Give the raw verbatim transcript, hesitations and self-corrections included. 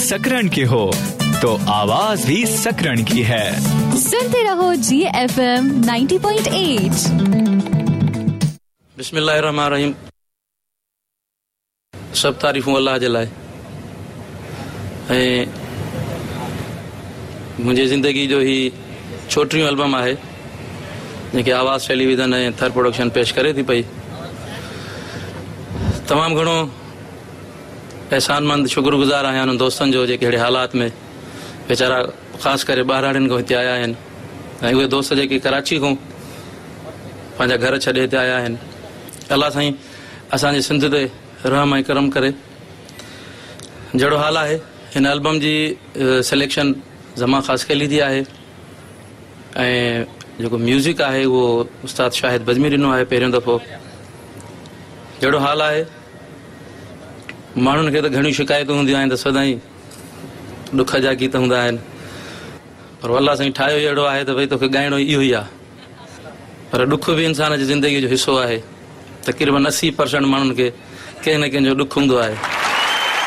सकरण के हो तो आवाज भी सकरण की है। सुनते रहो जी एफ एम नब्बे पॉइंट आठ। बिस्मिल्लाहिर्रहमानिर्रहीम। सभु तारीफ़ूं अल्लाह जे लाइ। ऐं मुंहिंजी ज़िंदगी जो ही छोटियूं एल्बम आहे जेके आवाज़ टेलीविज़न ऐं थर प्रोडक्शन पेश करे थी पई। तमामु घणो एहसानमंद शुक्रगुज़ार आहियां उन्हनि दोस्तनि जो जेके अहिड़े हालात में वीचारा ख़ासि करे ॿाहिराड़ियुनि खां हिते आया आहिनि ऐं उहे दोस्त जेके कराची खां पंहिंजा घर छॾे हिते आया आहिनि। अलाह साईं असांजे सिंध ते रहम ऐं करम करे। जहिड़ो हाल आहे, हिन एल्बम जी सिलेक्शन ज़मा ख़ासकेली जी आहे ऐं जेको म्यूज़िक आहे उहो उस्ताद शाहिद बज़मी ॾिनो आहे पहिरियों दफ़ो। जहिड़ो हाल आहे, माण्हुनि खे त घणियूं शिकायतूं हूंदियूं आहिनि त सदाईं ॾुख जा गीत हूंदा आहिनि, पर अलाह साईं ठाहियो ई अहिड़ो आहे त भई तोखे ॻाइणो इहो ई आहे। पर ॾुख बि इंसान जी ज़िंदगीअ जो हिसो आहे। तक़रीबन असी परसेंट माण्हुनि खे कंहिं न कंहिंजो ॾुख हूंदो आहे।